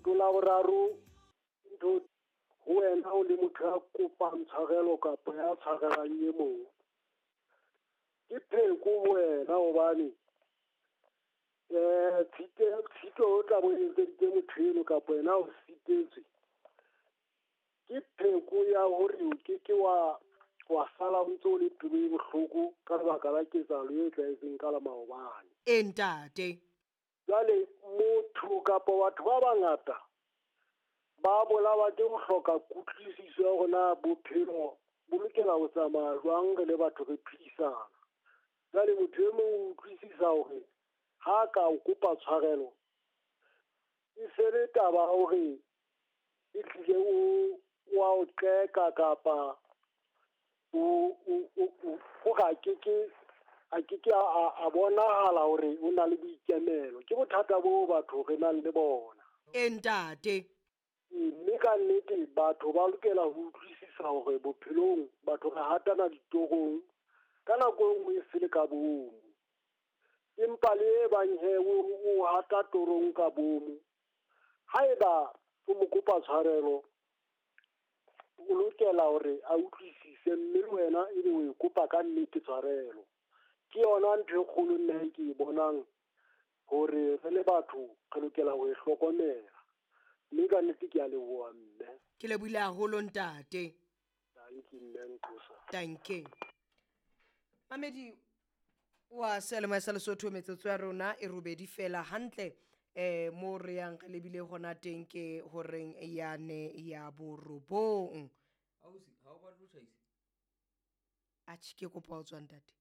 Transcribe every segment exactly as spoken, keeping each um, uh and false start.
Leoto la boraro ntho ho wena o le motho ya kopang tshwarelo kapa ya tshwarelang e mong. Ke pheko ho wena hobane eh tshito tshito o tla bo etseditse motho eno kapa wena o sitetswe. Ke pheko ya hore o ke ke wa wa sala o ntso o le pelo e bohloko ka lebaka la ketsahalo e etsahetseng ka la maobane. E ntate. Jwale motho kapa batho ba bangata ba bolawa ke ho hloka kutlwisiso ya hore na bophelo bo lokela ho tsamaya jwang re le batho re phedisana. Jwale motho e mong o utlwisisa hore ha ka o kopa tshwarelo e se le taba ya hore e hlile o wa o qeka kapa o o o o a ke ke a ke ke a bonahala hore o na le boikemelo. Ke bothata bo batho re nang le bona. E ntate. Mme ka nnete batho ba lokela ho utlwisisa hore bophelong batho re hatana ditorong ka nako e nngwe e se le ka bomo. Empa le e bang he o hata torong ka bomo, haeba o mo kopa tshwarelo o lokela hore a utlwisise mme le wena ebe o e kopa ka nnete tshwarelo. Ke yona ntho e kgolo nna ke e bonang hore re le batho re lokela ho e hlokomela. Mme ka nnete ke a leboha mme. Ke lebohile haholo ntate. Tanki mme Nqosa. Tanki. Mamedi wa Selemo sa Lesotho metsotso ya rona e robedi fela hantle eh mo re yang re lebile hona teng ke horeng ya ne ya borobong. Ausi, ha o batle ho tjhaisa? Atjhe, ke kopa ho tswa ntate.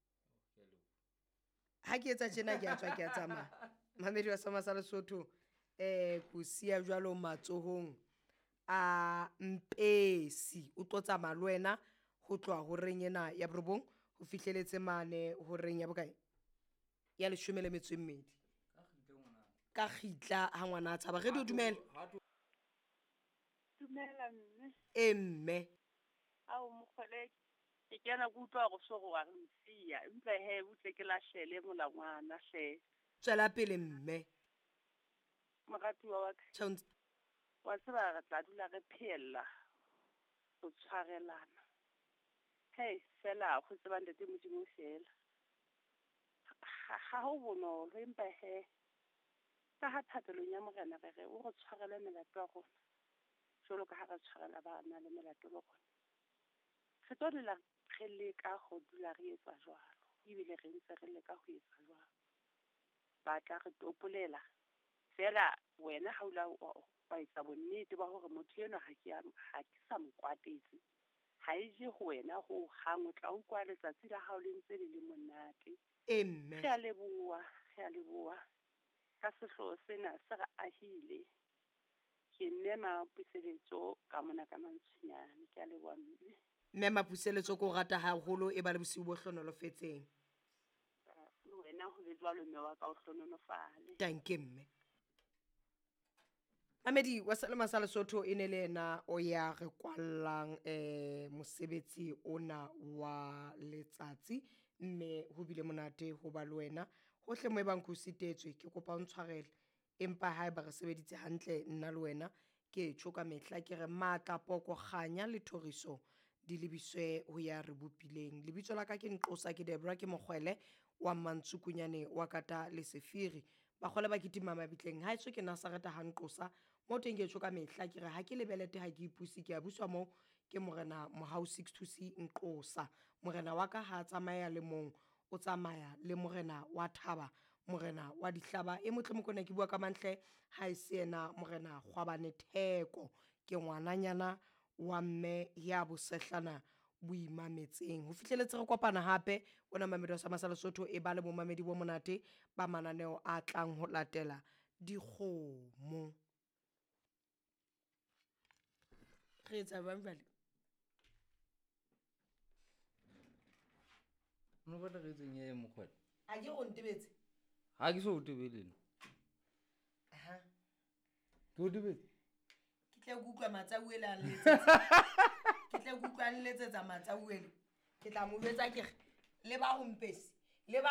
Ha ke etsa tjena ke a tswa ke a tsamaya. Mamedi wa Selemo sa Lesotho eh ko siya jwalo matsohong a Mpesi o tlo tsamaya le wena ho tloha horeng ena ya borobong ho fihleletse mane horeng ya bokae ya leshome le metso e mmedi ka kgitla ha ngwana a tshaba. Re di dumela. Dumela mme. E mme. Ao mokgole ke kena ke utlwa hore so wa re nsiya empa he butle ke lahlele molangwana hle. Tswela pele mme. Moratuwa wa ka. Wa tseba re tla dula re phehella ho tshwarelana. Hei fela ho tseba ntate Modimo fela. Ha ho bonolo empa he ka ha thapelong ya Morena re re o re tshwarele melato ya rona jwalo ka ha re tshwarela ba nang le melato le rona. Re tlo dula re leka ho dula re etsa jwalo ebile re ntse re leka ho etsa jwalo. Ba tla re topolela fela wena ha o la wa etsa bonnete ba hore motho enwa ha ke ha ke sa mo kwatetse. Ha e je ho wena ho hang o tla utlwa letsatsi la hao le ntse le le monate. E mme. Re a leboha, re a leboha. Ka sehlooho sena se re ahile. Ke mme Mapuseletso ka mona ka Mantsonyane. Ke a leboha mme. Mme Mapuseletso ko rata haholo e ba le bosiu bo hlonolofetseng. Le wena ho be jwalo mme wa ka o hlonolofale. Tanke mme. Mamedi wa Selemo sa Lesotho e ne le yena o ya re kwallang eh mosebetsi ona wa letsatsi mme ho bile monate ho ba le wena hohle mo e bang ko sitetswe ke kopa o ntshwarele empa haeba re sebeditse hantle nna le wena ke tjho ka mehla ke re matla poko kganya le thoriso di lebiswe ho ya re bopileng. Lebitso la ka ke Nqosa ke Debra ke Mokgwele wa Mantsukunyane wa Kata le Sefiri. Bakgole ba kitima mabitleng ha etswe ke Nazareta ha Nqosa mo teng ke tjho ka mehla ke re ha ke lebelete ha ke ipuse ke a buswa mo ke Morena Mohau six two C Nqosa. Morena wa ka ha tsamaya le mong o tsamaya le Morena wa thaba Morena wa dihlaba e motle mokone ke bua ka mantle ha e se yena Morena Kgwabane Theko ke ngwananyana wa mme ya bosehlana boimametseng. Ho fihleletse re kopana hape ona Mamedi wa Selemo sa Lesotho e ba le bomamedi bo monate ba mananeo a tlang ho latela dikgomo. Re etsa jwang jwale? No batla re etseng e mokgwele? A ke o ntebetse? Ha ke so o tebele nna. Aha. Ke o tebetse? Ke tle ke utlwa Matsauele a nletsetsa. Ke tle ke utlwa a nletsetsa Matsauele. Ke tla mo jwetsa ke re le ba ho Mpesi.